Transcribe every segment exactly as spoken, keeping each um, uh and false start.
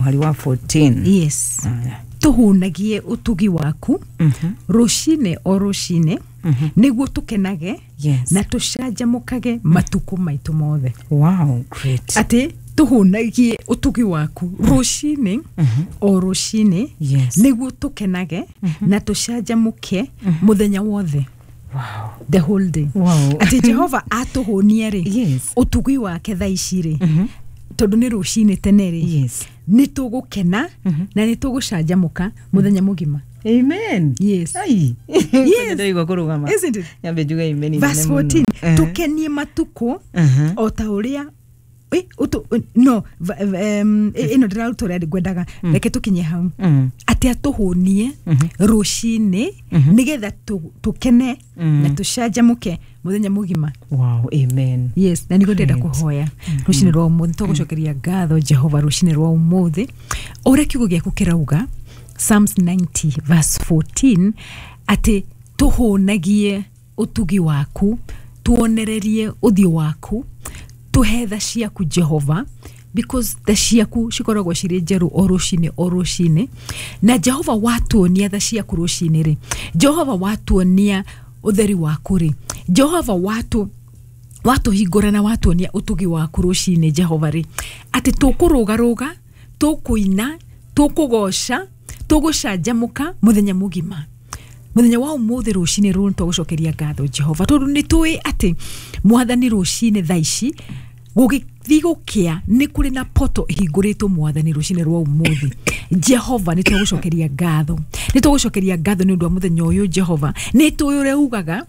Mũhari wa fourteen. Yes. Aya. Tũhũnagie ũtugi waku Mhm. rũcinĩ o rũcinĩ, nĩguo tũkenage Yes. na tũcanjamũkage matukũ maitũ mothe. Wow, great. Atĩ tũhũnagie ũtugi waku rũcinĩ o rũcinĩ, Yes. nĩguo tũkenage na tũcanjamũke mũthenya wothe. Wow. The whole day. Wow. Atĩ Jehova atũhũnie rĩ, Yes. ũtugi wake thaa ici rĩ, tondũ nĩ rũcinĩ tene rĩ, Yes. nĩ tũgũkena na nĩ tũgũcanjamũka mũthenya mũgima. Amen. Yes. Ai. Yes. Ndaigua kũrũgama. Isn't it? Nyambe njuge amen inene Verse mũno. fourteen. Eh. Tũkenie matukũ Mhm. o ta ũrĩa ĩ, ũtũ- no va- em, ĩ- ĩno ndĩraruta ũrĩa ngwendaga, reke tũkinye hau. Mm. Atĩ atũhũnie rũcinĩ nĩgetha tũ- tũkene na tũcanjamũke mũthenya mũgima. Wow, amen. Yes, na nĩguo ndĩrenda Great. kũhoya rũcinĩ rwa ũmũthĩ. Tũgũcokeria ngatho Jehova rũcinĩ rwa ũmũthĩ, ũrĩa kiugo gĩaku kĩrauga, Psalms ninety verse fourteen, atĩ tũhũnagie ũtugi waku, tuonererie ũthiũ waku, tũhe tha ciaku Jehova, because tha ciaku cikoragwo cirĩ njerũ o rũcinĩ o rũcinĩ. Na Jehova, watuonia tha ciaku rũcinĩ rĩ, Jehova, watuonia ũtheri waku rĩ, Jehova, watu watũhingũra na watuonia ũtugi waku rũcinĩ Jehova rĩ, atĩ tũkũrũgarũga, tũkũina, tũkũgoca, tũgũcanjamũka mũthenya mũgima. Mũthenya wa ũmũthĩ rũcinĩ rũrũ nĩtwagũcokeria ngatho Jehova, tondũ nĩ tũĩ atĩ Mwathani, rũcinĩ thaa ici gũgĩthiĩ gũkĩa nĩ kũrĩ na poto ĩhingũrĩtwo. Mwathani, rũcinĩ rwa ũmũthĩ Jehova, nĩ twagũcokeria ngatho, nĩ twagũcokeria ngatho nĩ ũndũ wa mũthenya ũyũ. Jehova, nĩ tũĩ ũrĩa ugaga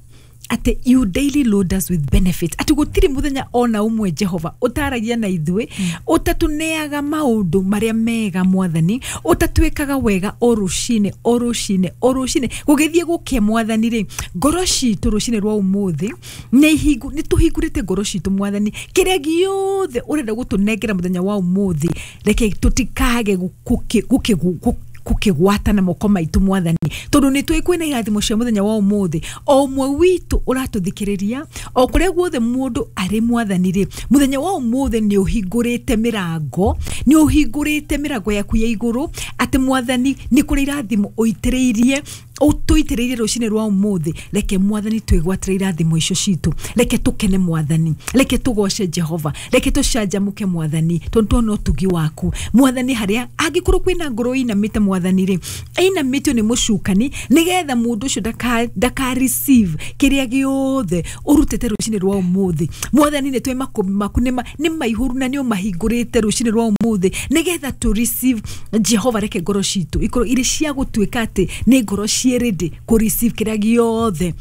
atĩ you daily load us with benefits, atĩ gũtirĩ mũthenya ona ũmwe Jehova ũtaragia na ithuĩ, ũtatũneaga maũndũ marĩa mega. Mwathani, ũtatwĩkaga wega o rũcinĩ o rũcinĩ o rũcinĩ gũgĩthiĩ gũkĩa. Mwathani rĩ, ngoro citũ rũcinĩ rwa ũmũthĩ nĩ ihingu- nĩ tũhingũrĩte ngoro citũ. Mwathani, kĩrĩa gĩothe ũrenda gũtũnengera mũthenya wa ũmũthĩ, reke tũtikage gũkĩ- gũkĩ- gũkĩ- gũkĩgwata na moko maitũ, Mwathani, tondũ nĩ tũĩ kwĩna irathimo cia mũthenya wa ũmũthĩ. O ũmwe witũ ũratũthikĩrĩria, o kũrĩa guothe mũndũ arĩ, Mwathani rĩ, mũthenya wa ũmũthĩ nĩ ũhingũrĩte mĩrango, nĩ ũhingũrĩte mĩrango yaku ya igũrũ, atĩ Mwathani, nĩ kũrĩ irathimo ũitĩrĩirie, ũtũitĩrĩirie rũcinĩ rwa ũmũthĩ. Reke Mwathani twĩgwatĩre irathimo icio citũ. Reke tũkene, Mwathani, reke tũgoce Jehova, reke tũcanjamũke, Mwathani, tondũ tuona ũtugi waku. Mwathani, harĩa angĩkorwo kwĩna ngoro ĩinamĩte, Mwathani rĩ, ĩinamĩtio nĩ mũcukani nĩgetha mũndũ ũcio ndaka ndaka receive kĩrĩa gĩothe ũrutĩte rũcinĩ rwa ũmũthĩ, Mwathani, nĩ twĩ makũmbĩ maku nĩ ma- nĩ maihũru na nĩ ũmahingũrĩte rũcinĩ rwa ũmũthĩ nĩgetha tũ receive. Jehova, reke ngoro citũ ikorwo irĩ cia gũtuĩka atĩ nĩ ngoro ciĩ ready kũ receive kĩrĩa gĩothe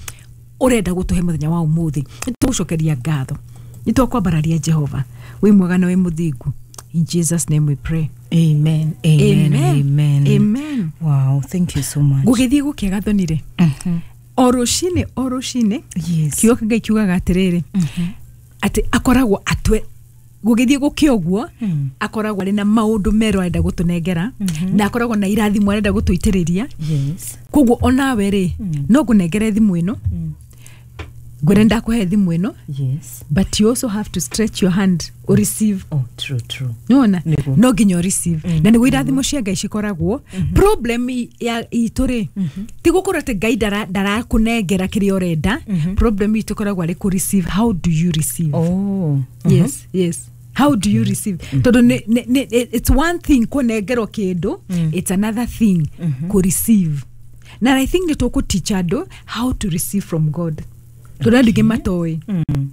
ũrenda gũtũhe mũthenya wa ũmũthĩ. Nĩ tũgũcokeria ngatho, nĩ twakwambararia Jehova, wĩ mwega na wĩ mũthingu. In Jesus' name we pray. Amen. Amen. Amen. Amen. Amen. Wow, thank you so much. Gũgĩthiĩ gũkĩa gathonire o rũcinĩ o rũcinĩ. Yes. Kiugo kĩa Ngai kiugaga atĩrĩrĩ, atĩ akoragwo atwe gũgĩthiĩ gũkĩa ũguo, akoragwo arĩ na maũndũ merũ arenda gũtũnengera, na akoragwo na irathimo arenda gũtũitĩrĩria. Yes. Koguo onawe rĩ, no ngũnengere thimũ ĩno, ngwĩre ndakũhe thimũ ĩno, Yes. but you also have to stretch your hand o receive. Oh, true, true. Nĩwona? Nĩguo. No nginya o receive, na nĩguo irathimo cia Ngai cikoragwo. Problem i- ya itũ rĩ, ti gũkorwo atĩ Ngai ndara- ndarakũnengera kĩrĩa ũrenda. Problem itũ ĩkoragwo arĩ kũ receive. How do you receive? Oh. yes yes how do you receive? Tondũ nĩ- nĩ- nĩ- it's one thing kũnengerwo kĩndũ, it's another thing kũ receive. Na I think nĩ tũkũ teach andũ how to receive from God, tondũ andũ aingĩ matoĩ.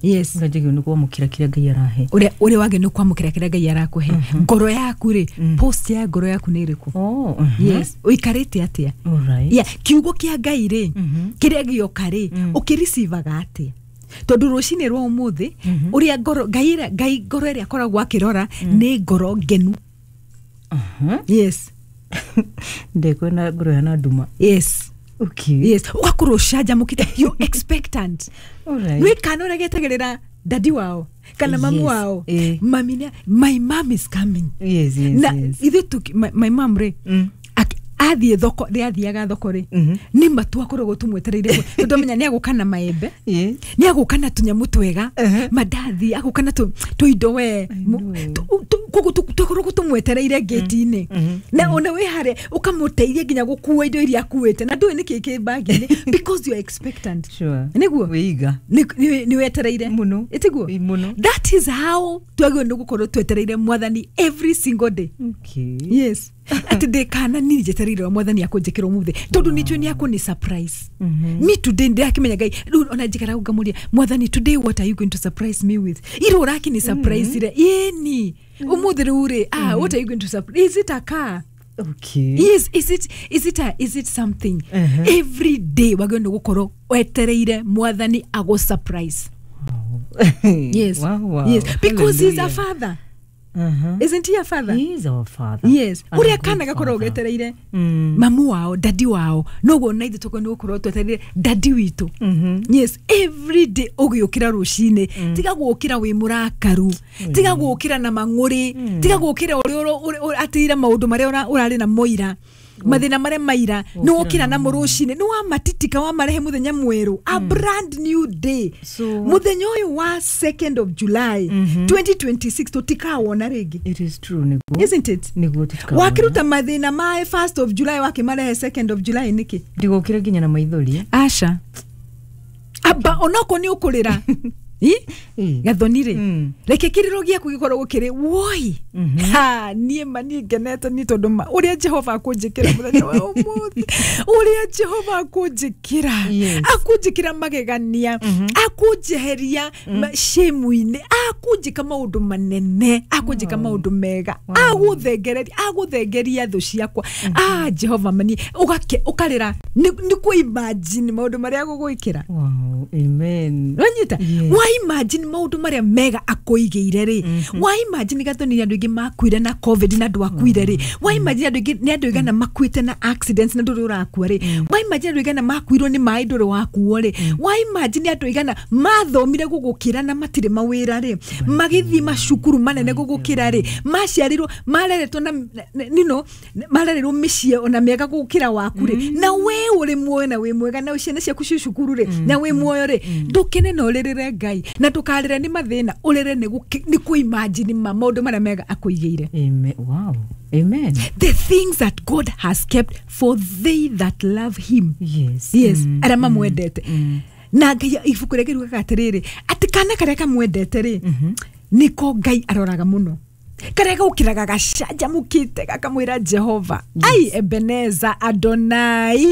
Yes. Ngajagio nĩ kwamũkĩra kĩrĩa Ngai arahe. ũrĩa ũrĩa wagĩ nĩ kwamũkĩra kĩrĩa Ngai arakũhe. Ngoro yaku rĩ, post ya ngoro yaku nĩ ĩrĩkũ? Oh. mhm. Yes, ũikarĩte atĩa? All right. Yeah, kiugo kĩa Ngai rĩ, kĩrĩa gĩoka rĩ, ũkĩricivaga atĩa? Tondũ rũcinĩ rwa ũmũthĩ, ũrĩa ngoro Ngai ĩrĩa- Ngai ngoro ĩrĩa akoragwo akĩrora nĩ ngoro ngenu. Mhm. Yes. Ndekwenda ngoro yana nduma. Yes. Okay. Yes, ũgakorwo ũcanjamũkĩte, you expectant. All right. Nĩ kana ũrĩa getagĩrĩra dadi wao kana mamu Yes. wao. Eh. Mami nĩ- my mom is coming. Yes, yes, Na yes. ithuĩ tuki- my, my mom rĩ, Mm. aki- athiĩ thoko rĩ, athiaga thoko rĩ, Mhm. nĩ matu akoragwo tũmwetereire, tondũ amenya nĩ agũka na maembe, Yes. nĩ agũka na tũnyamũ twega, Uh-huh. mandathi, agũka na tũ- tũindo we. I Mu- know. tu- tu- Koguo tũkoragwo tũmwetereire gate-inĩ na ona wĩ harĩa ũkamũteithia nginya gũkua indo iria akuĩte na ndũĩ nĩkĩ kĩ bag-inĩ, because you are expectant. Sure. Nĩguo Wĩiga. nĩ wetereire. Mũno. Ĩtiguo? Ĩ, mũno. That is how twagĩrĩirwo nĩ gũkorwo twetereire mwathani every single day. Okay. Yes, atĩ ndĩ kana niĩ njetereire mwathani akũnjĩkĩra ũmũthĩ tondũ nĩ njũĩ nĩ akũni surprise me today. Ndĩrakĩmenya Ngai rĩu ona njikaraga ngamũria, "Mwathani, today what are you going to surprise me with? Ira ũrakĩni surprise ire ĩni ũmũthĩ rĩu rĩ, ah, what are you going to surprise? Is it a car?" Okay. Yes, is it is it a, is it something? Uh-huh. Every day wagĩrĩirwo nĩ gũkorwo wetereire mwathani agũ surprise. Wow. Yes. Wow, wow. Yes, because he's a Hallelujah. father. Uh-huh. Isn't he a father? He is our father. Yes. And a Ũrĩa good kana gakoragwo father. getereire Mm. mamu wao, daddy wao, noguo na ithuĩ tũkorwo nĩ gũkorwo twetereire daddy witũ. Mhm. Yes, every day ũgĩũkĩra rũcinĩ, tiga gũkĩra wĩ mũrakaru, tiga gũkĩra na mang'ũrĩ, tiga gũkĩra ũrĩa ũro- ũrĩa- ũrĩa- atĩire maũndũ marĩa ũra- ũrarĩ namo ira, mathĩna marĩa maira nĩ wokĩra namo rũcinĩ, nĩ wamatitika wamarehe mũthenya mwerũ, a brand new day. So- Mũthenya ũyũ wa second of July twenty twenty-six tũtikawona rĩngĩ. It is true, nĩguo. Isn't it? Nĩguo, tũtikawona. Wakĩruta mathĩna ma first of July wakĩmarehe second of July nĩkĩ? Ndigũkĩra nginya na maithori. Aca, amba onokorwo nĩ ũkũrĩra. Ĩ? Ĩ. Gathoni rĩ, Mm. reke kĩrĩro gĩaku gĩkorwo gũkĩrĩ woi ha niĩ ma niĩ ngenete nĩ tondũ ma ũrĩa Jehova akũnjĩkĩra mũthenya wa ũmũthĩ, ũrĩa Jehova akũnjĩkĩra. Yes. Akũnjĩkĩra magegania, akũnjeheria ma- shame-inĩ, akũnjĩka maũndũ manene, akũnjĩka maũndũ mega, agũthengereria, agũthengeria thũ ciakwa. Ah, Jehova mani ũgake ũkarĩra nĩ nĩ kũ imagine maũndũ marĩa agũgwĩkĩra. Wow. Amen. Wanyita? Yes. Wa imagine maũndũ marĩa mega akũigĩire rĩ, wa imagine gathoni nĩ andũ aingĩ makuire na COVID na ndwakuire rĩ, wa imagine andũ aingĩ nĩ andũ aigana makuĩte na accidents na ndũrĩ ũrakua rĩ, wa imagine andũ aigana makuirwo nĩ maĩ ndũrĩ wakuo rĩ, wa imagine andũ aigana mathomire gũgũkĩra na matirĩ mawĩra rĩ, magĩthiĩ macukuru manene gũgũkĩra rĩ, maciarirwo mareretwo na na- you know, marereirwo mĩciĩ ona mĩega gũkĩra waku rĩ, na we ũrĩ muoyo na wĩ mwega na ciana ciaku ci cukuru rĩ na wĩ muoyo rĩ, ndũkene na ũrĩrĩre Ngai na ndũkarĩre nĩ mathĩna, ũrĩre nĩ gũkĩ- nĩ kũ imagine ma maũndũ marĩa mega akũigĩire. Amen. Wow. Amen. The things that God has kept for they that love him. Yes. Yes. Mm. Arĩa mamwendete na Ngai, ibuku rĩngĩ riugaga atĩrĩrĩ, atĩ kana karĩa kamwendete rĩ, nĩko Ngai aroraga mũno, karĩa gaũkĩraga gacanjamũkĩte gakamwĩra Jehova, "Ai Ebeneza Adonai,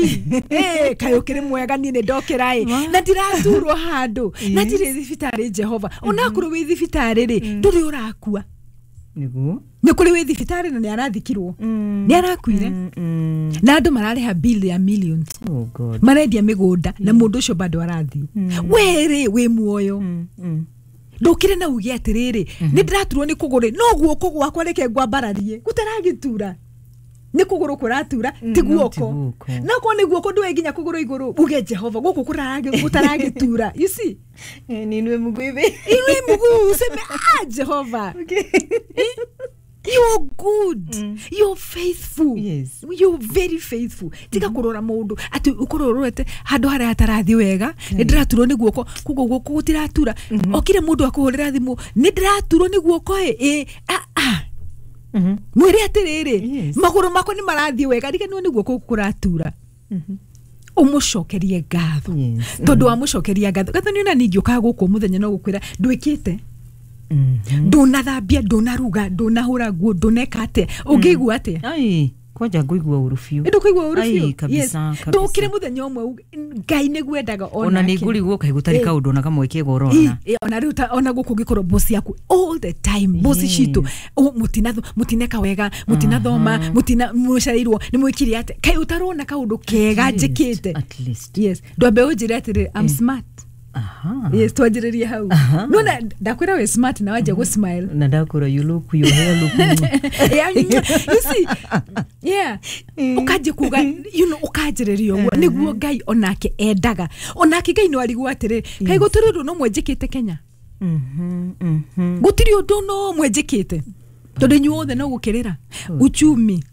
eh, kaĩ ũkĩrĩ mwega, niĩ nĩ ndokĩra ĩ na ndiraturwo handũ na ndirĩ thibitarĩ." Jehova, onakorwo wĩ thibitarĩ rĩ, ndũrĩ ũrakua. Nĩguo. Nĩ kũrĩ wĩ thibitarĩ na nĩ arathikirwo, nĩ arakuire Mm, mm. na andũ mararĩha bill ya millions. Oh God. Marendia mĩgũnda na mũndũ ũcio bado arathiĩ, we rĩ wĩ muoyo. Mm, mm. Ndũkĩre na uge atĩrĩrĩ, nĩ ndĩraturwo nĩ kũgũrũ, no guoko gwakwa reke ngwambararie gũtaragĩtura, nĩ kũgũrũ kũratura ti no ti guoko. guoko. No korwo nĩ guoko ndũe nginya kũgũrũ igũrũ uge, "Jehova, gũkũ kũraragi- gũtaragĩtura." You see? Eh, ninue mguu hivi. Inue mguu useme, "Ah, Jehova, you're good, you're faithful." Yes. You're very faithful. Tiga kũrora mũndũ atĩ ũkorwo ũrorete handũ harĩa hatarathiĩ wega, nĩ ndĩraturwo nĩ guoko, koguo guoko gũtiratura. Okire mũndũ akũhũrĩra thimũ, "Nĩ ndĩraturwo nĩ guoko ĩ ĩ ah, ah." Mhm. Mwĩre atĩrĩrĩ, Yes. "Magũrũ makwa nĩ marathiĩ wega, riganĩrwo nĩ guoko gũkũ kũratura." Ũmũcokerie ngatho. Yes. Tondũ wamũcokeria ngatho, ngatho nĩ ona ningĩ ũkaga gũkũ mũthenya no gũkwĩra ndwĩkĩte, Mhm. ndũnathambia, ndũnaruga, ndũnahũra nguo, ndũneka atĩa, ũngĩigua atĩa? Ai, kwanja ngũigua ũru biũ. Ndũkũigua ũru Ai, biũ? kabisa, Yes. kabisa. Ndũkĩre mũthenya ũmwe uge, Ngai nĩguo endaga. Ona nĩ ngũrigwo kaĩ gũtarĩ Eh. kaũndũ ona kamwe kega ũrona. Ĩ, ona rĩu ta- ona gũkũ ũngĩkorwo bosi yaku all the time, bosi Yes. citũ, "Oh, mũtinatho- mũtineka wega, mũtinathoma, mũtina mũcereirwo nĩ mwĩkire atĩa, kaĩ ũtarona kaũndũ kega At least, njĩkĩte?" at least. Yes, ndwambe ũnjĩre atĩrĩrĩ, "I'm smart." Aha. Yes, twanjĩrĩrie hau. Aha. Nona ndakwĩra wĩ smart na wanjia gũ smile. Na ndakũra, you look, your hair look. Yeah, you see, yeah, ũkanjia kuga, you know ũkanjĩrĩria ũguo nĩguo Ngai onake endaga. Onake Ngai no arigwo atĩrĩ, kaĩ gũtirĩ ũndũ no mwenjĩkĩte Kenya? Mhm, mhm. Gũtirĩ ũndũ no mwenjĩkĩte tondũ inyuothe no gũkĩrĩra uchumi,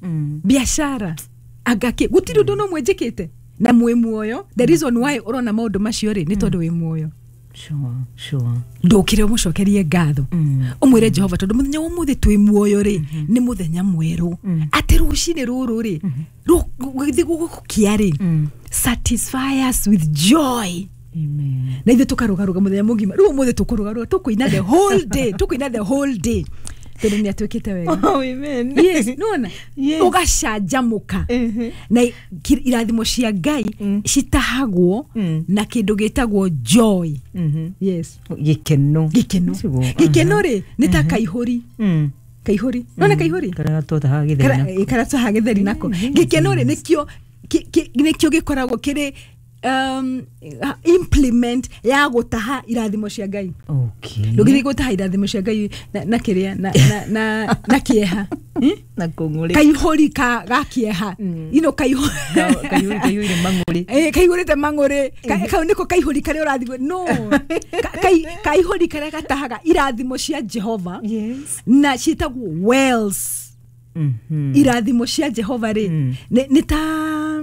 biashara, angakĩ, gũtirĩ ũndũ no mwenjĩkĩte na mwĩ muoyo. The reason why ũrona maũndũ macio rĩ, nĩ tondũ wĩ muoyo. Sure, sure. Ndũkĩre ũmũcokerie ngatho. Mm. Ũmwĩre Jehova tondũ mũthenya wa ũmũthĩ twĩ muoyo rĩ, nĩ mũthenya mwerũ. Atĩ rũcinĩ rũrũ rĩ, gũgĩthiĩ gũgũkia rĩ, Mm. satisfy us with joy. Amen. Na ithuĩ tũkarũgarũga mũthenya mũgima. Rĩu ũmũthĩ tũkũrũgarũga, tũkũina the whole day, tũkũina the whole day tondũ nĩ atuĩkĩte wega. Oh, amen. Yes, nona Yes. ũgacanjamũka. Mhm. Na ki- irathimo cia Ngai Mm. citahagwo Mm. na kĩndũ gĩtagwo joy. Mhm. Yes. Gĩkeno. Gĩkeno. Siguo. Gĩkeno rĩ, nĩ ta kaihũri. Mm. Kaihũri, nona kaihũri Karĩa gatũtahaga gĩtheri Kara- nako. ĩ, karĩa tũtahaga gĩtheri nako. Gĩkeno rĩ, nĩkĩo kĩ- kĩ- nĩkĩo gĩkoragwo kĩrĩ um, implement ya gũtaha irathimo cia Ngai. Okay. Ndũngĩthiĩ gũtaha irathimo cia Ngai na, na kĩrĩa na, na, na, na kĩeha. Hmm? Na kũng'ũrĩ. Kaihũri ka ga kĩeha. Mm. You know, kaihũri Ka- kaihũri kaihũire mang'ũrĩ. Eh, kaihũrĩte mang'ũrĩ. Ka- kau nĩko kaihũri karĩa ũrathiĩ no Ka- kai- kaihũri karĩa gatahaga irathimo cia Jehova. Yes. Na ciĩtagwo wells. Mhm. Irathimo cia Jehova rĩ, Mm. nĩ nĩ ta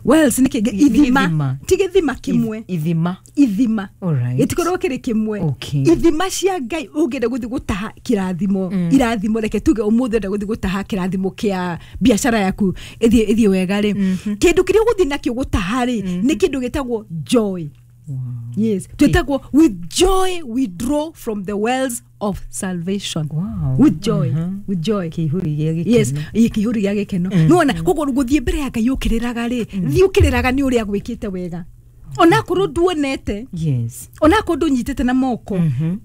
wells nĩ kĩ Nĩ ithima. gĩthima. Ti gĩthima kĩmwe. Ithima. Ithima. Alright. Gĩtikoragwo kĩrĩ kĩmwe. Okay. Ithima cia Ngai, ũngĩenda gũthiĩ gũtaha kĩrathimo, Mm. irathimo, reke tuge ũmũthĩ ũrenda gũthiĩ gũtaha kĩrathimo kĩa biacara yaku ĩthiĩ ĩthiĩ wega rĩ, kĩndũ kĩrĩa ũgũthiĩ nakĩo gũtaha rĩ, nĩ kĩndũ gĩtagwo joy. Wow. Yes, twĩtagwo with joy we draw from the wells of salvation. Wow. With joy. Mhm. With joy. Kĩihũri gĩa gĩkeno. Yes, ĩ, kĩihũri gĩa gĩkeno. Nĩwona koguo gũthiĩ mbere ya Ngai ũkĩrĩraga rĩ, thiĩ ũkĩrĩraga nĩ ũrĩa gwĩkĩte wega, onakorwo nduonete, Yes. onakorwo ndũnyitĩte na moko. Mhm.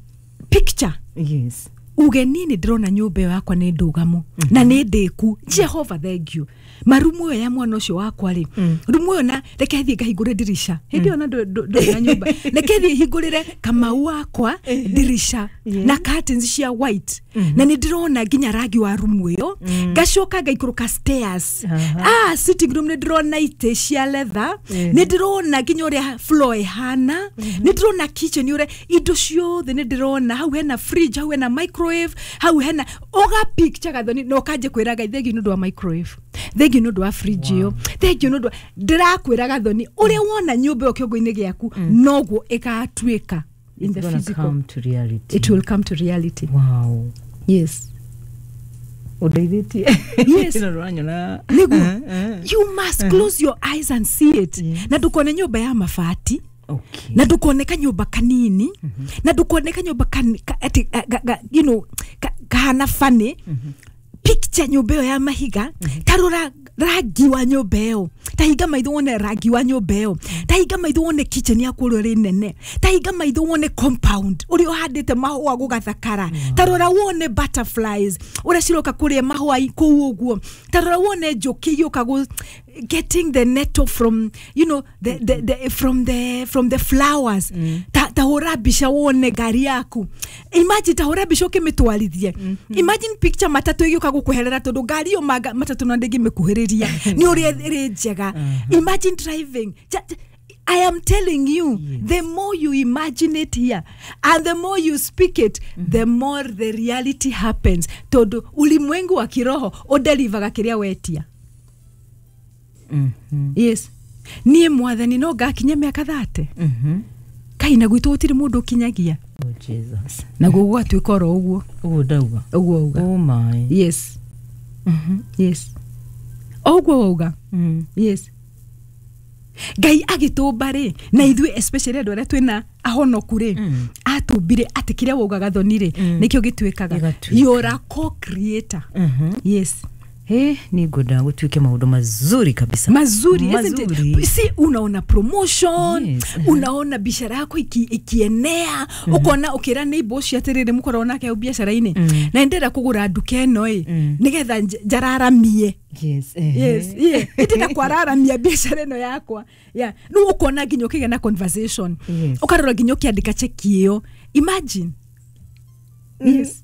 Picture. Yes. Uge niĩ nĩ ndĩrona nyũmba ĩyo yakwa nĩ ndũgamu na nĩ ndĩku. Jehova, thank you. Marumu ĩyo ya mwana ũcio wakwa rĩ, rumu ĩyo, na reke thiĩ ngahingũre ndirisha hĩndĩ ĩyo na ndũ- ndũ- ndũrĩ na nyũmba, reke thiĩ hingũrĩre Kamau wakwa ndirisha Yes. na curtains cia white, na nĩ ndĩrona nginya rangi wa rumu ĩyo. Ngacoka ngaikũrũka stairs. Aha. Ah, sitting room nĩ ndĩrona itĩ cia leather. Mhm. Nĩ ndĩrona nginya ũrĩa floor ĩhana. Nĩ ndĩrona kitchen, ũrĩa indo ciothe nĩ ndĩrona hau hena fridge, hau hena microwave, hau hena ũga picture gathoni, na ũkanjia kwĩra Ngai thengiũ nĩ ũndũ wa microwave, thengiũ nĩ ũndũ wa fridge ĩyo, thengiũ nĩ ũndũ wa ndĩrakwĩra gathoni, ũrĩa wona nyũmba ĩyo kĩongo-inĩ gĩaku noguo ĩgatuĩka in It's the gonna physical. come to reality. It will come to reality. Wow. Yes. Ũndeithĩtie. Yes. Ĩno ndũranyona. Nĩguo. Eh, eh. You must close your eyes and see it. Yes. Na ndũkone nyũmba ya mabati, Okay. na ndũkone kanyũmba kanini, na ndũkone kanyũmba kan, ka, ati, ga, ga, ga, you know, ka, kahana funny. Picture nyũmba ĩyo ya mahiga. Tarora rangi wa nyũmba ĩyo, tahinga maitho wone rangi wa nyũmba ĩyo, tahinga maitho wone kitchen yaku ũrĩa ĩrĩ nene, tahinga maitho wone compound ũrĩa ũhandĩte mahũa gũgathakara, tarora wone butterflies ũrĩa ciroka kũrĩa mahũa i- kũu ũguo, tarora wone njũkĩ igĩũka gũ getting the nettle from you know the, the, the, from the from the flowers. Ta ta hũra mbica wone ngari yaku. Imagine, ta hũra mbica ũkĩmĩtwarithie. Imagine, picture matatũ ĩgĩũka gũkweherera, tondũ ngari ĩyo manga- matatũ na ndĩngĩmĩkuhĩrĩria nĩ ũrĩa ĩrĩ njega. Imagine driving. Ja- ja- I am telling you, Yes. the more you imagine it here and the more you speak it, the more the reality happens. Tondu ulimwengu wa kiroho ũdelivaga kĩrĩa wetia. Mhm. Yes. Niĩ Mwathani no ngakinya mĩaka thate. Mhm. Kai na gwitũ gũtirĩ mũndũ ũkinyagia. Oh, Jesus. Naguo gũgatuĩka oro ũguo. Ũguo ndauga. Ũguo uga. Oh my. Yes. Mhm. Yes, o ũguo wauga. Mm. Yes, Ngai agĩtũmba rĩ, na ithuĩ especially andũ arĩa twĩna ahonoku rĩ, Mm. atũmbire atĩ kĩrĩa waugaga thoni rĩ, Mm. nĩkĩo gĩtuĩkaga. Gĩgatuĩka. You're a co-creator. Mhm. Yes. He, nĩ ngwenda gũtuĩke maũndũ mazuri kabisa. Mazuri, isn't Mazuri. it? Si unaona promotion? Yes. Unaona biashara yako iki, ikienea, ukona ukira neighbor ũcio atĩrĩrĩ, mũkoragwo nake hau biacara-inĩ, Mm. na ndĩrenda kũgũra nduka ĩno ĩ, Mm. nĩgetha nj- njararamie. Yes. Ehe. Yes, yeah. Ndĩrenda kwararamia biacara ĩno yakwa, yeah. Rĩu ũkona nginya ũkĩgĩa na conversation, Yes. ũkarora nginya ũkĩandĩka cheki ĩyo. Imagine. Yes,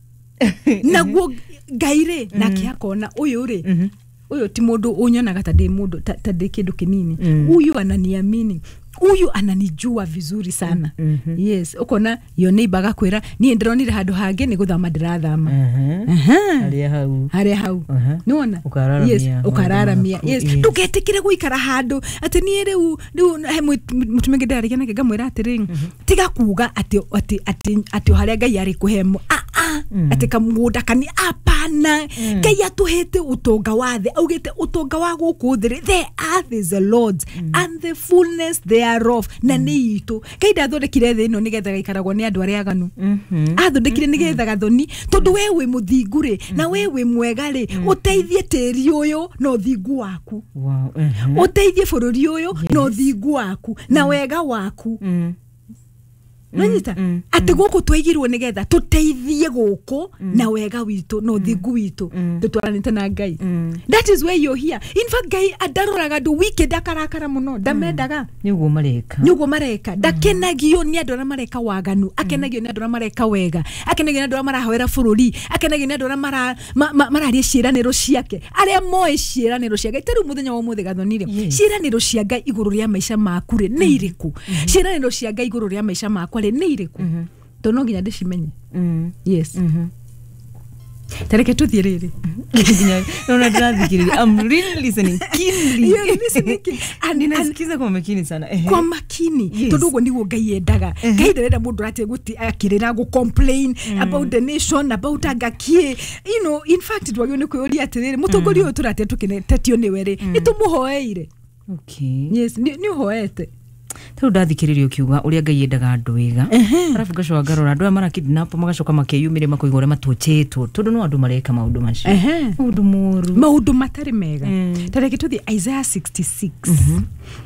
naguo Ngai rĩ, nake akona ũyũ rĩ, Mhm. ũyũ ti mũndũ ũnyonaga ta ndĩ mũndũ ta ta ndĩ kĩndũ kĩnini. Mm. Huyu ananiamini, Huyu ananijua vizuri sana. mm -hmm. Yes, ukona your neighbor agakwira niĩ ndĩronire handũ hangĩ nĩ gũthama ndĩrathama. Harĩa hau harĩa hau nĩwona. Yes, ũkararamia. Yes, ndũgetĩkĩre gũikara handũ atĩ niĩ rĩu rĩu he mũtumia ũngĩ ndĩrarĩria nake ngamwĩra atĩrĩ, tiga kuga atĩ atĩ atĩ atĩ harĩa Ngai arĩ kũhe a a atĩ kamũgũnda kani apana. Ngai atũhete ũtonga wa thĩ, augĩte ũtonga wa gũkũ thĩ, the earth is the Lord's and the fullness thereof, na nĩ itũ. Ngai ndathondekire thĩ ĩno nĩgetha gaikaragwo nĩ andũ arĩa aganu, athondekire nĩgetha gathoni, tondũ we wĩ mũthingu rĩ na we wĩ mwega rĩ, ũteithie tĩri ũyũ na ũthingu waku, ũteithie bũrũri ũyũ na ũthingu waku na wega waku. Nanyita atĩ gũkũ twaigirwo nĩgetha tũteithie gũkũ na wega witũ na ũthingu witũ tũtwaranĩte na Ngai. That is why you're here. In fact, Ngai andaroraga andũ wicked akarakara mũno, ndamendaga. Nĩguo mareka, nĩguo mareka. Ndakenagio nĩ andũ arĩa mareka waganu, akenagio nĩ andũ arĩa mareka wega, akenagio nĩ andũ arĩa marahoera bũrũri, akenagio nĩ andũ arĩa mara mararia ciĩranĩro ciake, arĩa moĩ ciĩranĩro cia Ngai. Ta rĩu mũthenya wa ũmũthĩ gathonire, ciĩranĩro cia Ngai igũrũ rĩa maica maku rĩ nĩ irĩkũ? Ciĩranĩro cia Ngai igũrũ rĩa maica makwa rĩ nĩ irĩkũ? Tondũ no nginya ndĩcimenye. Yes. Tareke tuthiĩ rĩrĩ. Naona ndĩrathikĩrĩria. I'm really listening keenly. You're listening keenly. And ninasikiza kwa makini sana. Kwa makini. Tondũ ũguo nĩguo Ngai endaga. Ngai ndarenda mũndũ atie gũti akĩrĩra gũ complain about the nation, about angakie. You know, in fact twagĩrĩirwo nĩ kwĩyũria atĩrĩrĩ, mũtongoria ũyũ tũratia tũkĩtetio nĩwe rĩ, nĩ tũmũhoeire? Okay. Yes, nĩ ũhoete. Tondũ ndathikĩrĩria ũkiuga ũrĩa Ngai endaga andũ wega, arabu ngacoka ngarora andũ aya marakidnap magacoka makeyumĩria makoiga ũrĩa matũchĩtwo, tondũ no andũ mareka maũndũ macio, maũndũ moru, maũndũ matarĩ mega. Ta reke tũthiĩ Isaiah sixty-six.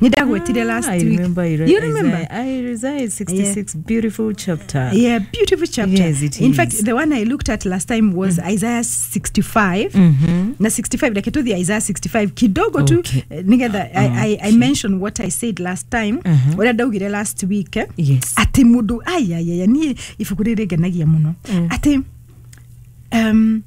Nĩ ndagwetire last I week. Remember, You remember? Isaiah sixty-six, yeah. Beautiful chapter. Yeah, beautiful chapter. Yes, it In is. fact, the one I looked at last time was mm. Isaiah sixty-five. Mm-hmm. Na sixty-five, reke tũthiĩ Isaiah sixty-five kidogo tu nĩgetha I, I, I mentioned what I said last time. Ũrĩa ndaugire last week, eh? Yes. Atĩ mũndũ ayayaya niĩ ibuku rĩrĩ rĩngenagia mũno. Atĩ um,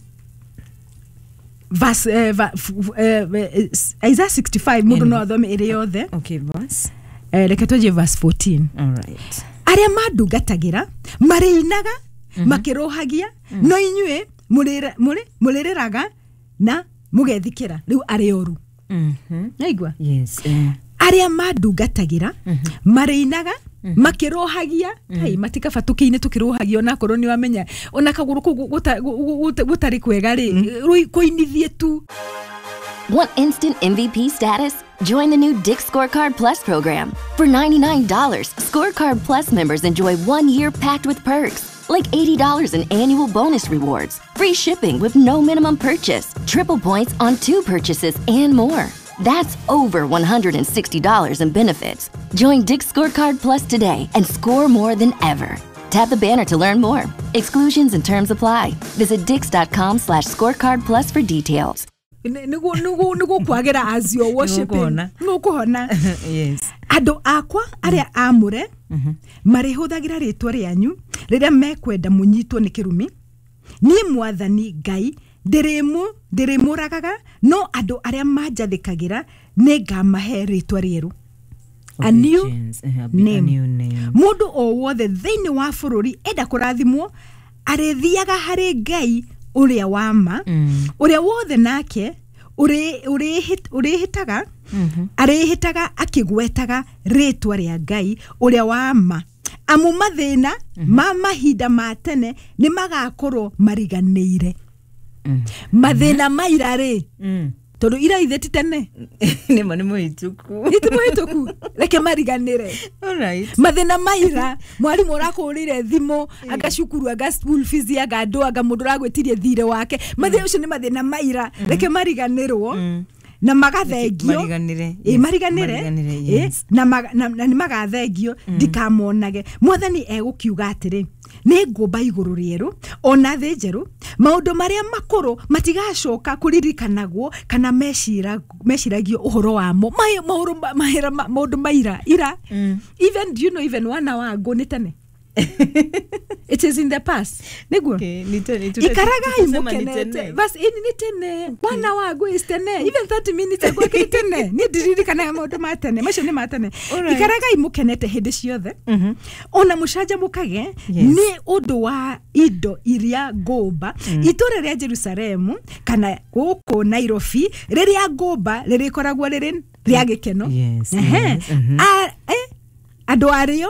verse, uh, va, f, uh, Isaiah sixty-five mũndũ no athome ĩrĩ yothe. Okay, verse. Uh, reke tũnjie verse fourteen. All right. Arĩa mandungatagĩra marĩinaga makĩrũhagia, no inyuĩ mũrĩrĩraga na mũgethikĩra. Rĩu arĩ oru. Naigua? Yes. Uh. Arĩa mandungatagĩra marĩinaga makĩrũhagia, hai matikaba tũkĩine tũkĩrũhagia, onakorwo nĩ wamenya ona kagũrũ kũu gũtarĩ kwega rĩ, kũinithie tu. Want instant M V P status? Join the new Dick's Scorecard Plus program. For ninety-nine dollars, Scorecard Plus members enjoy one year packed with perks, like eighty dollars in annual bonus rewards, free shipping with no minimum purchase, triple points on two purchases, and more. That's over one hundred sixty dollars in benefits. Join Dick's Scorecard Plus today and score more than ever. Tap the banner to learn more. Exclusions and terms apply. Visit dicks.com slash scorecard plus for details. Nĩguo kwagĩra as you're worshiping. Nĩũkũhona. Yes. Andũ akwa arĩa amũre marĩhũthagĩra rĩtwa rĩanyu rĩrĩa mekwenda mũnyitwo nĩ kĩrumi. Niĩ Mwathani Ngai ndĩrĩmũ ndĩrĩmũragaga, no andũ arĩa manjathĩkagĩra nĩngamahe rĩtwa rĩerũ. A new name. Mũndũ o wothe thĩinĩ wa bũrũri enda kũrathimwo arĩthiaga harĩ Ngai ũrĩa wa ma, ũrĩa wothe nake ũrĩhĩtaga arĩhĩtaga akĩgwetaga rĩtwa rĩa Ngai ũrĩa wa ma. Amu mathĩna ma mahinda ma tene nĩ magakorwo mariganĩire. Mathĩna ma ira rĩ, tondũ ira ithe ti tene, nĩma nĩ mũhĩtũku, nĩ mũhĩtũku, reke mariganĩre. Alright. Mathĩna ma ira, mwarimũ ũrakũhũrĩire thimũ, anga cukuru, anga school fees, anga andũ, anga mũndũ ũragwĩtirie thirĩ wake, mathĩna ũcio nĩ mathĩna ma ira, reke mariganĩrwo na magathengio. Mariganĩre. Mariganĩre na nĩ magathengio, ndikamonage. Mwathani egũkiuga atĩrĩ, nĩ ngũmba igũrũ rĩerũ ona thĩ njerũ, maũndũ marĩa makũrũ matigacoka kũririkanagwo kana meciragio ũhoro wamo. Maũndũ maira ira. Even do you know even one hour ago nĩ tene. It is in the past. Niguo ikaragai mukenete bas ini ni tene wana wagu is tene even thirty minutes ago kiri tene ni ndiririkanaga maundu ma tene macio ni ma tene. Ikaragai mukenete hindi ciothe ona mucanjamukage ni undu wa indo iria ngũmba itũra rĩa Jerusalemu kana gũkũ Nairobi rĩrĩa ngũmba rĩrĩkoragwo rĩrĩ rĩa gĩkeno. Andũ arĩo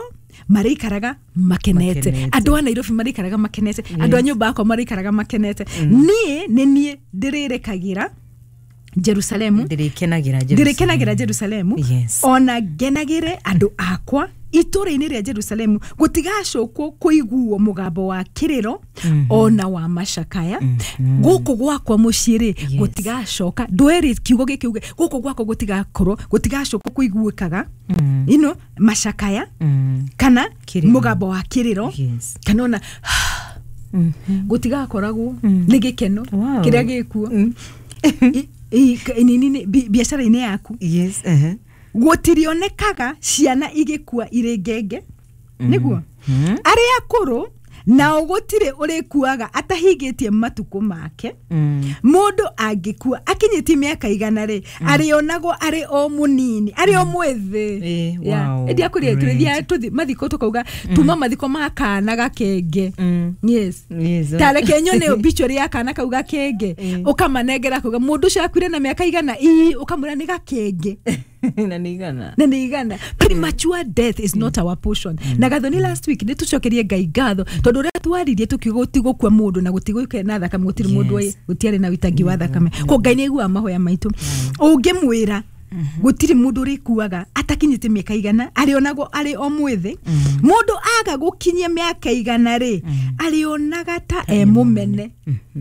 marĩikaraga makenete, andũ a Nairobi marĩikaraga makenete, andũ a nyũmba yakwa marĩikaraga makenete. Niĩ nĩ niĩ ndĩrĩrekagira Jerusalemu, ndĩrĩkenagira Jerusalemu, ona ngenagĩre andũ akwa itũra-inĩ rĩa Jerusalemu. Gũtigacokwo kũiguo mũgambo wa kĩrĩro ona wa macakaya. Gũkũ gwakwa mũciĩ rĩ gũtigacoka, ndweri kiugo gĩkĩ uge gũkũ gwakwa gũtigakorwo gũtigacokwo kũiguĩkaga ino macakaya kana mũgambo wa kĩrĩro kana ona gũtigakoragwo nĩ gĩkeno kĩrĩa gĩkuo biacara-inĩ yaku. Gũtirionekaga ciana igĩkua irĩ ngenge nĩguo arĩa akũrũ nao gũtirĩ ũrĩkuaga atahingĩtie matukũ make. Mũndũ angĩkua akinyĩtie mĩaka igana rĩ arĩonagwo arĩ o mũnini, arĩ o mwĩthĩ. Ĩndĩ akũrĩa tũrĩthiaga tũthi mathiko tũkauga tuma mathiko ma kana gakenge. Yes, tareke nyone obituary ya kana kau gakenge ũkamanengera kuga mũndũ ũcio akuire na mĩaka igana ii ũkamwĩra nĩ gakenge. Na nĩ igana, na nĩ igana. Premature death is not our portion. Na Gathoni last week nĩ tũcokerie Ngai ngatho tondũ ũrĩa twaririe tũkiuga gũtigũkua mũndũ na gũtigũke na thakame, gũtirĩ mũndũ gũtiarĩ na wĩitangi wa thakame. Ko Ngai nĩ aiguaga mahoya maitũ. Ũngĩmwĩra gũtirĩ mũndũ ũrĩkuaga atakinyĩte mĩaka igana arĩonagwo arĩ o mwĩthĩ. Mũndũ aga gũkinyia mĩaka igana rĩ arĩonaga ta e mũmene.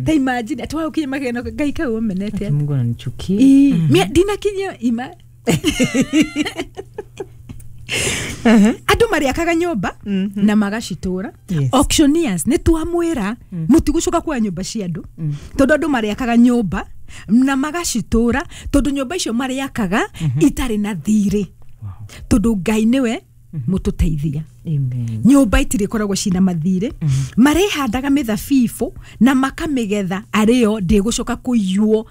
Ta imagine atĩ wagũkinyia mĩaka igana Ngai kau ũmenete. Mungu ananichukia. Ndinakinyia ima. Andũ marĩakaga nyũmba na magacitũra. Auctioneers nĩ twamwĩra mũtigũcoka kuoya nyũmba cia andũ tondũ andũ marĩakaga nyũmba na magacitũra tondũ nyũmba icio marĩakaga itarĩ na thirĩ tondũ Ngai nĩwe mũtũteithia. Nyũmba itirĩkoragwo cina mathirĩ. Marĩhandaga mĩthabibũ na makamĩgetha arĩo ndĩgũcoka kũiywo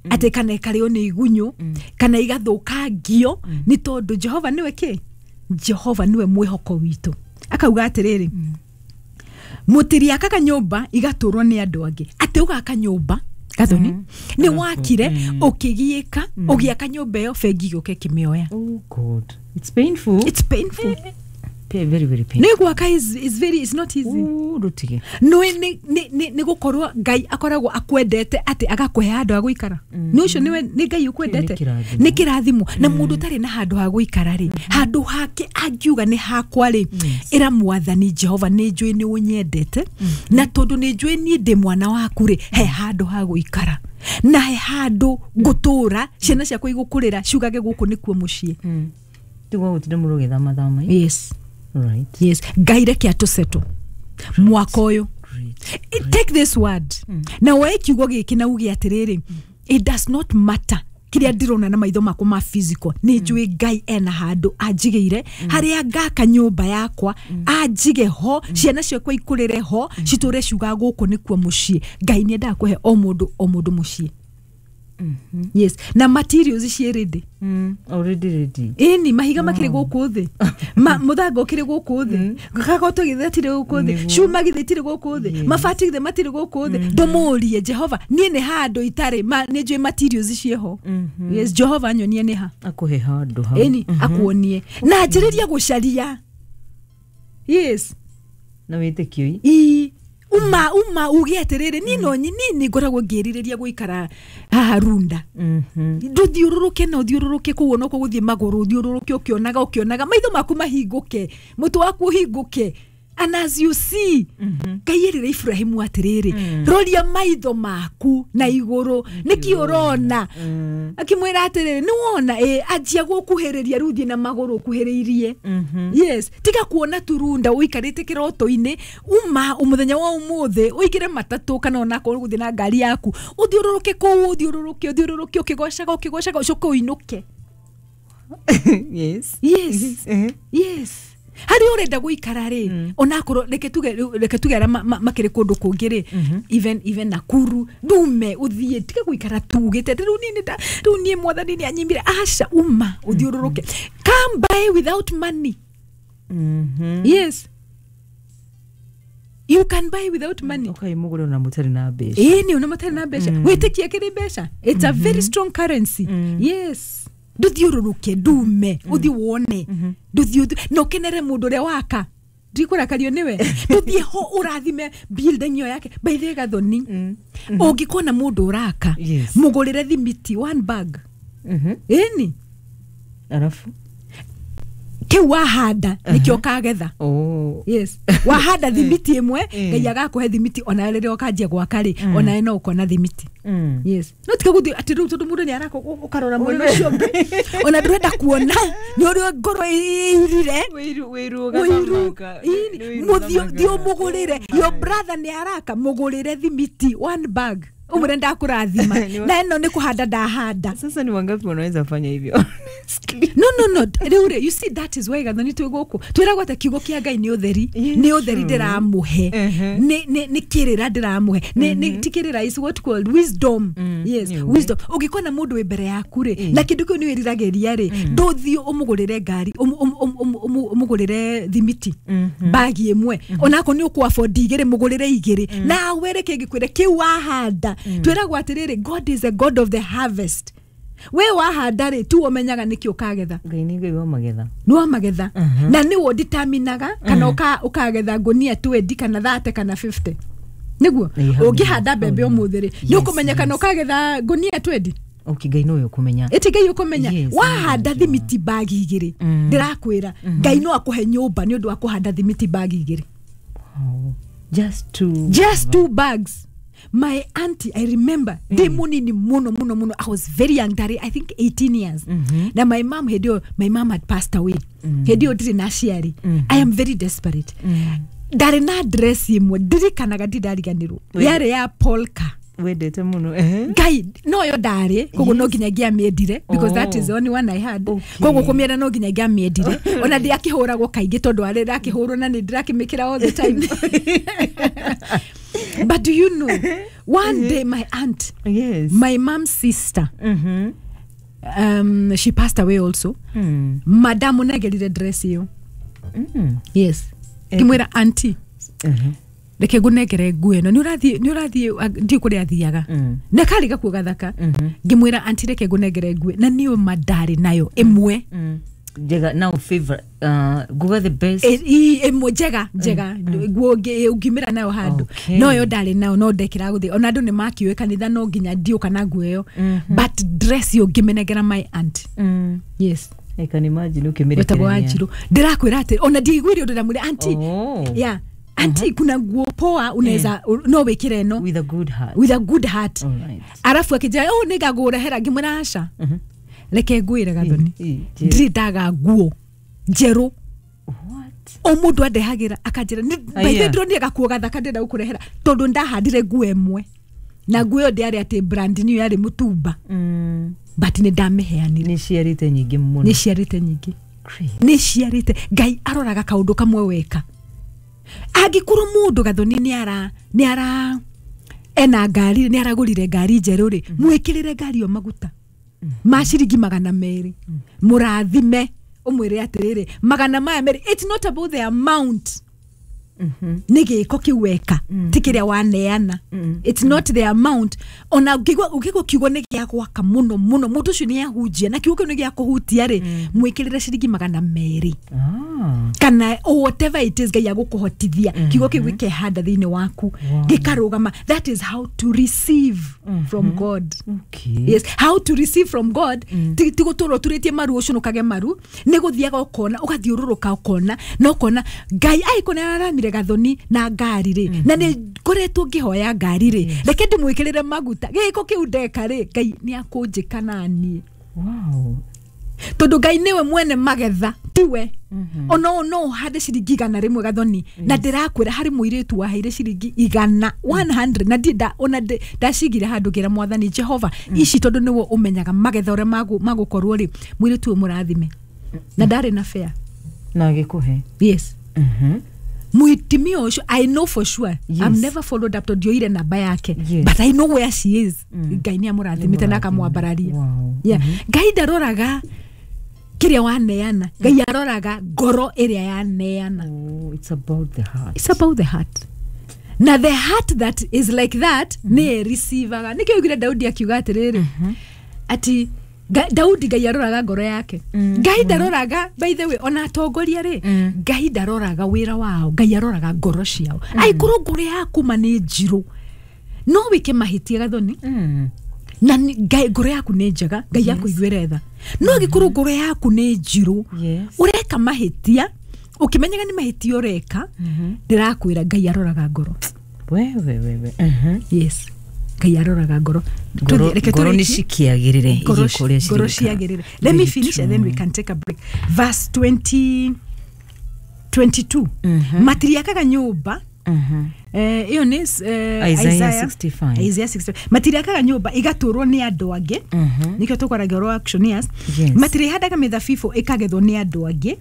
atĩ kana ĩkarĩo nĩ igunyũ kana igathũkangio nĩ tondũ Jehova nĩwe kĩ? Jehova nĩwe mwĩhoko witũ. Akauga atĩrĩrĩ mũtiriakaga nyũmba igatũrwo nĩ andũ angĩ. Atĩ ũgaka nyũmba Gathoni nĩ wakire ũkĩgiĩka ũgĩaka nyũmba ĩyo bengi gũke kĩmĩoya. Oh God, it's painful. It's painful. Very very painful. Nĩ gwaka is is very is not easy. Ndutige. No nĩ nĩ nĩ gũkorwo Ngai akoragwo akwendete atĩ agakũhe handũ ha gũikara. Nĩ ũcio nĩwe nĩ Ngai ũkwendete. Nĩ kĩrathimo. Na mũndũ ũtarĩ na handũ ha gũikara rĩ, handũ hake angiuga nĩ hakwa rĩ, ĩra Mwathani Jehova nĩ njũĩ nĩ ũnyendete na tondũ nĩ njũĩ niĩ ndĩ mwana waku rĩ, he handũ ha gũikara na he handũ ngũtũra ciana ciakwa igũkũrĩra ciugage gũkũ nĩkuo mũciĩ. Tigwa gũtinda mũndũ ũgĩthama thama. Yes. Right. Yes. Ngai reke atũsettle mwaka ũyũ. Take this word. Na woe kiugo gĩkĩ na uge atĩrĩrĩ, it does not matter kĩrĩa ndĩrona na maitho makwa ma physical, nĩ njũĩ Ngai ena handũ anjigĩire harĩa ngaka nyũmba yakwa anjige ho, ciana ciakwa ikũrĩre ho, citũre ciuga gũkũ nĩkuo mũciĩ. Ngai nĩ endaga kũhe o mũndũ o mũndũ mũciĩ. Yes. Na materials ciĩ ready. Mm, already ready. Ĩni mahiga makĩrĩ gũkũ thĩ. Ma mũthanga ũkĩrĩ gũkũ thĩ. Gagoto githĩ tirĩ gũkũ thĩ. Cuma githĩ tirĩ gũkũ thĩ. Mabati githĩ matirĩ gũkũ thĩ. Ndũmũrie Jehova niĩ nĩ handũ itarĩ ma nĩ njũĩ materials ciĩho. Yes, Jehova nyonie nĩ ha. Akũhe handũ hau. Ĩni akuonie. Na anjĩrĩrie gũcaria. Yes. Na wĩtĩkio. Ii. Uma uma uge atĩrĩrĩ niĩ no nini ngoragwo ngĩrirĩria gũikara haha Runda. Ndũthiũrũrũke na ũthiũrũrũke kũu ona ũgũthiĩ magũrũ ũthiũrũrũke ũkĩonaga ũkĩonaga maitho maku mahingũke mũtwe waku ũhingũke. And as you see, Ngai erire Ibrahimu atĩrĩrĩ roria maitho maku na igũrũ nĩkĩ ũrona. Akĩmwĩra atĩrĩrĩ nĩ wona ĩ anjia gũkuhĩrĩria rĩu thiĩ na magũrũ ũkuhĩrĩirie. Yes, tiga kuona turunda ũikarĩte kĩroto-inĩ uma mũthenya wa ũmũthĩ ũingĩre matatũ kana ona akorwo ũgũthiĩ na ngari yaku ũthiũrũrũke kũu ũthiũrũrũke ũthiũrũrũke ũkĩgocaga ũkĩgocaga ũcoke ũinũke. Yes. Yes. Yes. Harĩa ũrenda gũikara rĩ, onakorwo reke tuge reke tuge arĩa makĩrĩ kũndũ kũngĩ rĩ, even even Nakuru, ndume ũthiĩ, tiga gũikara tugĩte rĩu niĩ nĩ rĩu niĩ mwathani nĩ anyimire. Aca, uma ũthiũrũrũke. Come by without money. Mhm. Yes, you can buy without money. Okay, mugure ona mutarĩ na mbeca. Ĩĩ, nĩ ona matarĩ na mbeca. Wĩtĩkia kĩrĩ mbeca, it's a very strong currency. Yes, ndũthiũrũrũke, ndume ũthiĩ wone, ndũthiĩ na ũkenere mũndũ ũrĩa waka, ndikũrakario nĩwe, ndũthiĩ ho ũrathime building ĩyo yake. By the way, Gathoni, ũngĩkona mũndũ ũraka, Yes. mũgũrĩre thimiti one bag. Mhm. Ĩni. Arafu kĩu wahanda nĩkĩo ũkagetha. Oh. Yes, wahanda thimiti ĩmwe, Ngai agakũhe thimiti, ona rĩrĩa ũkanjia gwaka rĩ, onawe no ũkona thimiti. Mm. Yes, no tiga gũthiĩ atĩ rĩu tondũ mũndũ nĩ araka ũkarora mwena ũcio ũngĩ, ona ndũrenda kuona nĩ ũrĩa ngoro ĩirire. Wĩiru wĩiru. Ũiru. Ĩni, mũthiĩ thiĩ ũmũgũrĩre. Your brother nĩ araka, mũgũrĩre thimiti one bag, ũmwĩre ndakũrathima na ĩno nĩ kũhanda ndahanda. Sasa ni wangapi wanaweza fanya hivyo? No, no, no, rĩu rĩ, you see, that is why, Gathoni, twĩ gũkũ twĩragwo atĩ kiugo kĩa Ngai nĩ ũtheri, nĩ ũtheri ndĩramũhe, nĩ nĩ nĩ kĩrĩra ndĩramũhe, nĩ nĩ ti kĩrĩra, is what called wisdom. Yes, nĩ wisdom. Ũngĩkona mũndũ wĩ mbere yaku rĩ, na kĩndũ kĩu nĩ wĩriragĩria rĩ, ndũthiĩ ũmũgũrĩre ngari, ũmũ- ũmũ- ũmũ- ũmũ- ũmũgũrĩre thimiti bagi ĩmwe, onakorwo nĩ ũkũ afford igĩrĩ, mũgũrĩre igĩrĩ, nawe reke ngĩkwĩre kĩu wahanda. Twĩragwo atĩrĩrĩ, God is a God of the harvest. We wahanda rĩ, tu ũmenyaga nĩkĩ ũkagetha. Ngai nĩ Ngai wa magetha. Nĩ wa magetha, na nĩwe ũditaminaga kana ũka- ũkagetha ngũnia twenty kana thirty kana fifty, nĩguo. Ĩĩ, hau ũngĩhanda mbembe ũmũthĩ rĩ, nĩ Yes, ũkũmenya kana ũkagetha ngũnia twenty. Okay, Ngai nowe ũkũmenya. Ĩti Ngai ũkũmenya. Yes, wahanda thimiti bagi igĩrĩ, ndĩrakwĩra Ngai no akũhe nyũmba nĩ ũndũ wa kũhanda thimiti bagi igĩrĩ. Wow. Just to Just two bags. My auntie, I remember ndĩ mũnini mũno mũno mũno, I was very young, ndarĩ I think eighteen years, na my mom hĩndĩ ĩyo, my mom had passed away hĩndĩ ĩyo, ndirĩ na aciari. I am very desperate. Ndarĩ na dress ĩmwe ndirikanaga, ndindariganĩrwo, yarĩ ya polka. Wendete mũno. Ehe. Ngai noyo ndarĩ, koguo no nginya ngĩamĩendire because that Oh. is the only one I had. Okay. Koguo kũmĩenda no nginya ngĩamĩendire, ona ndĩakĩhũragwo kaingĩ tondũ arĩ ndakĩhũrwo na nĩ ndĩrakĩmĩkĩra all the time. But do you know, one day my aunt, Yes. my mom's sister, Mhm. um, she passed away also, Mm. madamu negerire dress ĩyo. Mm. Yes, ngĩmwĩra, "Auntie, Mhm. reke ngũnengere nguo ĩno, nĩ ũrathiĩ nĩ ũrathiĩ ndiũ kũrĩa athiaga." Mm. Na karĩ gakuo gathaka. Mhm. Ngĩmwĩra, "Auntie, reke ngũnengere nguo." Na niĩ ma ndarĩ nayo ĩmwe. Mm. Njega now, favorite, uh, nguga the best. Ĩ- ĩ- ĩmwe njega njega, nguo ũngĩ- ũngĩumĩra nayo handũ. Okay. Noyo ndarĩ nayo, no ndekĩra gũthiĩ, ona andũ nĩ makiũĩ kanitha no nginya ndiũka na nguo ĩyo, but dress ĩyo ngĩmĩnengera my aunt. Mm. Yes. I can imagine wetagwo ũkĩmĩrekereria. Wanjirũ, ndĩrakwĩra atĩ ona ndiaiguire ũndũ, ndamwĩra, "Auntie, Oh. yeah, auntie, kuna nguo poa unaweza, no wĩkĩre ĩno." With a good heart. With a good heart. Alright. Arabu akĩnjĩra, "Oh, nĩngagũrehera." Ngĩmwĩra, "Aca, reke ngwĩre, Gathoni, Ĩ, ĩ, njĩra. ndirĩ ndaga nguo njerũ." What? O mũndũ andehagĩra akanjĩra, Aya. "Baithe, ndĩronire gakuo gathaka, ndĩrenda gũkũrehera," tondũ ndahandire nguo ĩmwe, na nguo ĩyo ndĩarĩ atĩ brand new, yarĩ mũtumba, Mm. but nĩ ndamĩheanire. Nĩ ciarĩte nyingĩ mũno. Nĩ ciarĩte nyingĩ. Great. Nĩ ciarĩte. Ngai aroraga kaũndũ kamwe weka. Angĩkorwo mũndũ, Gathoni, nĩ ara nĩ ara ena ngari, nĩ aragũrire ngari njerũ rĩ, mwĩkĩrĩre ngari ĩyo maguta ma ciringi magana merĩ, mũrathime, ũmwĩre atĩrĩrĩ, magana maya merĩ, it's not about the amount, Mhm. nĩ gĩko kĩu weka, ti kĩrĩa waneana. It's not the amount. Ona ũngĩigua ũngĩigua kiugo nĩ gĩa gwaka mũno mũno, mũndũ ũcio nĩ ahunjia na kiugo kĩu nĩ gĩa kũhutia rĩ, mwĩkĩrĩre ciringi magana merĩ Ah. kana o whatever it is Ngai agũkũhotithia, kiugo kĩu gĩkehanda thĩinĩ waku, gĩkarũgama. That is how to receive from God. Okay. Yes, how to receive from God. Ti ti gũtũra ũturĩtie maru ũcũnũkage maru, nĩ gũthiaga ũkona, ũgathiũrũrũka ũkona, na ũkona Ngai angĩkorwo nĩ araramire Gathoni na ngari rĩ, na nĩ ngoretwo ngĩhoya ngari rĩ, reke ndĩmwĩkĩrĩre maguta, gĩko kĩu ndeka rĩ, Ngai nĩ akũnjĩka naniĩ. Wow. Tondũ Ngai nĩwe mwene magetha, tiwe. Ona ũũ no ũhande ciringi igana rĩmwe, Gathoni, na ndĩrakwĩra harĩ mũirĩtu waheire ciringi igana igana na ndi ona ndĩ- ndacigire handũ, ngĩra Mwathani Jehova, ici tondũ nĩwe ũmenyaga magetha ũrĩa magũ- magũkorwo rĩ, mũirĩtu ũyũ mũrathime, na ndarĩ na fare. Na agĩkũhe. Yes. Mhm. Muitimia ũcio, I know for sure. Yes. I've never followed up tondũ ndioire namba yake, Yes. but I know where she is. Ngai nĩ amũrathimĩte na akamwambararia. Wow. Yeah. Ngai ndaroraga kĩrĩa waneana, Ngai aroraga ngoro ĩrĩa yaneana. Oh, it's about the heart. It's about the heart, na the heart that is like that mm -hmm. nĩ ĩreceivaga. Nĩkĩo augire Daudi akiuga atĩrĩrĩ, ati Ga- Daudi, Ngai aroraga ngoro yake. Ngai ndaroraga, by the way, ona atongoria rĩ, Ngai ndaroraga wĩra wao, Ngai aroraga ngoro ciao. Aikorwo ngoro yaku ma nĩ njirũ, no wĩke mahĩtia, Gathoni, Mm. na nĩ- Ngai, ngoro yaku nĩ njega, Ngai akũiguĩre tha. No angĩkorwo ngoro yaku nĩ njirũ, Yes. ũreka mahĩtia ũkĩmenyaga nĩ mahĩtia ũreka, ndĩrakwĩra Ngai aroraga ngoro. Wewe wewe. Mhm. Yes, Ngai aroraga ngoro. Ngoro Tũthiĩ- reke ngoro nĩ tũrĩkie. cikiagĩrĩre Ngoro igĩka ũrĩa ngoro cirĩka. ciagĩrĩre. Let me Very finish and then we true. can take a break. Verse twenty twenty-two, matiriakaga nyũmba. Mhm. Eh, ĩyo nĩ eh, Isaiah sixty-five. Isaiah sixty-five. Matiriakaga nyũmba igatũrwo nĩ andũ angĩ. Mhm. Nĩkĩo tũkwaragia ũhoro wa auctioneers. Yes. Matirĩhandaga mĩthabibũ ĩkagethwo nĩ andũ angĩ.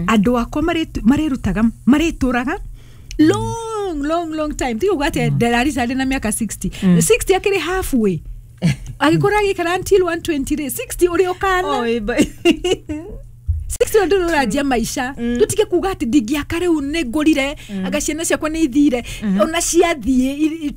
Andũ akwa marĩtu- marĩrutaga, marĩtũraga long, long, long time. Tiga uga atĩ ndararisa ndĩ na mĩaka sixty. sixty akĩrĩ halfway, agĩkorwo agĩikara until one twenty rĩ, sixty ũrĩ ũkana. Oh, ĩba- sixty ndå ũranjia maica. Tũtige kuga atĩ ndingĩaka rĩu, nĩ ngũrire, anga ciana ciakwa nĩ ithire. Ona ciathiĩ,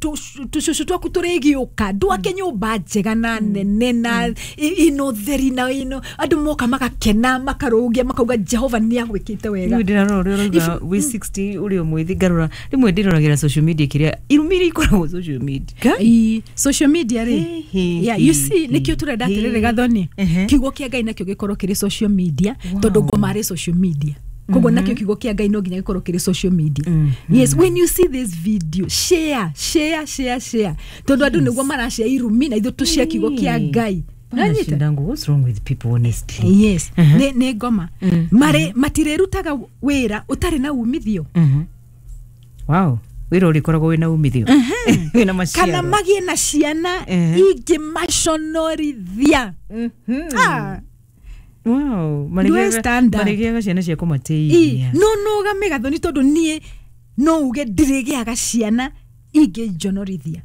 tũcũcũ twaku tũrĩgĩũka. Ndwake nyũmba njega na nene na i- ĩno theri na ĩno andũ moka magakena, makarũgia, makauga Jehova nĩ agwĩkĩte wega. Rĩu ndĩrarora ũrĩa ũrauga wĩ sixty ũrĩ o mwĩthĩ, ngarora rĩmwe ndĩroragĩra social media, kĩrĩa irumi iria ikoragwo social media. Ii, social media rĩ, Hĩ, yeah, you hĩ, see, nĩkĩo tũrenda hĩ. atĩrĩrĩ, Gathoni, Ehe. kiugo kĩa Ngai nakĩo gĩkorwo kĩrĩ social media, Wow. tondũ ngoma arĩ social media. Koguo nakĩo kiugo kĩa Ngai no nginya gĩkorwo kĩrĩ social media. Yes, when you see this video, share, share, share, share, tondũ andũ nĩguo marashare irumi na ithuĩ tũshare kiugo kĩa Ngai. Nanyita? Nashindangu, what's wrong with people, honestly? Yes, nĩ nĩ ngoma. Marĩ matirĩrutaga wĩra ũtarĩ na umithio. Mhm. Wow, wĩra ũrĩkoragwo wĩna umithio, wĩna maciaro. Kana magĩe na ciana Ehe. ingĩ maconorithia. Ah. Wow, Do I stand up? marĩgĩaga ciana cia Ĩ, kũmateithia. no nũgame, Gathoni, tondũ niĩ no uge ndirĩgĩaga ciana ingĩnjonorithia.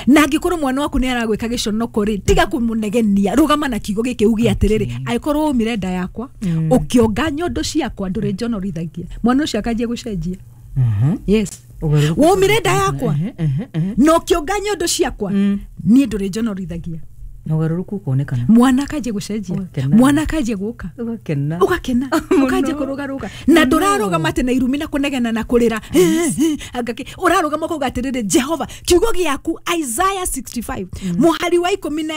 Na angĩkorwo mwana waku nĩ aragwĩka gĩconoko rĩ, tiga kũmũnegenia, rũgama na kiugo gĩkĩ uge atĩrĩrĩ, angĩkorwo waumire nda yakwa ũkĩonga nyondo ciakwa, ndũrĩ njonorithagia. Mwana ũcio akanjia gũcenjia. Mhm. Yes. Ũgarũrũku. Waumire nda yakwa Ehe, ehe, ehe. na ũkĩonga nyondo ciakwa, niĩ ndũrĩ njonorithagia. Na ũgarũrũku ũkonekana. Mwana akanjia gũcenjia. Ũgakena. Mwana akanjia gũka. Ũgakena. Ũgakena, ũkanjia kũrũgarũga, na ndũrarũgama atĩ na irumi na kũnegena na kũrĩra. Anga kĩ- ũrarũgama ũkauga atĩrĩrĩ, Jehova, kiugo gĩaku Isaiah sixty-five mũhari wa ikũmi na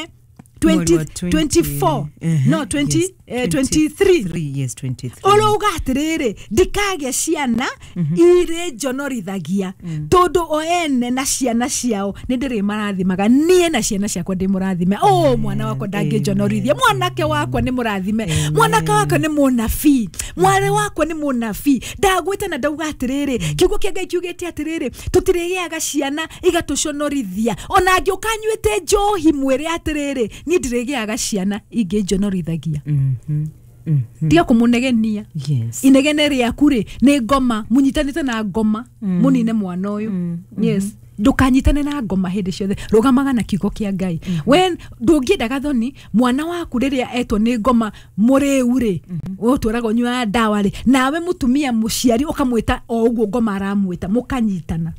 Mweri wa twenty, twenty-four. Ehe, No, twenty, yes, eh, twenty-three. twenty-three, yes, twenty-three. Ũrauga atĩrĩrĩ, ndikagĩa ciana irĩ njonorithagia, tondũ o ene na ciana ciao nĩ ndĩrĩmarathimaga. Niĩ na ciana ciakwa ndĩ mũrathime. O mwana wakwa ndangĩnjonorithia. Mwanake wakwa nĩ mũrathime, mwanake wakwa nĩ mũnabii, mwarĩ wakwa nĩ mũnabii. Ndagwĩta na ndauga atĩrĩrĩ, kiugo kĩa Ngai kiugĩte atĩrĩrĩ, tũtirĩgĩaga ciana igatũconorithia. Ona angĩũka anyuĩte njohi, mwĩre atĩrĩrĩ, niĩ ndirĩgĩaga ciana ingĩnjonorithagia. Mhm, mhm. Tiga kũmũnegenia. Yes. Inegene rĩaku rĩ nĩ ngoma, mũnyitanĩte na ngoma mũnine mwana ũyũ. Yes, ndũkanyitane na ngoma hĩndĩ ciothe, rũgamaga na kiugo kĩa Ngai. When ndũngĩenda, Gathoni, mwana waku rĩrĩa etwo nĩ ngoma mũrĩu rĩ, ũtũraga ũnyuaga ndawa rĩ, nawe mũtumia mũciari ũkamwĩta o ũguo ngoma aramwĩta, mũkanyitana.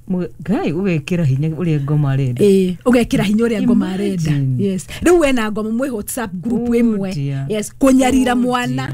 Mũ- ngai ũgekĩra hinya ũrĩa ngoma arenda. Ĩĩ, ũgekĩra hinya ũrĩa ngoma arenda. Imagine. Yes, rĩu wena ngoma mwĩ WhatsApp group Oh ĩmwe. dear. Yes, kũnyarira Oh mwana. dear.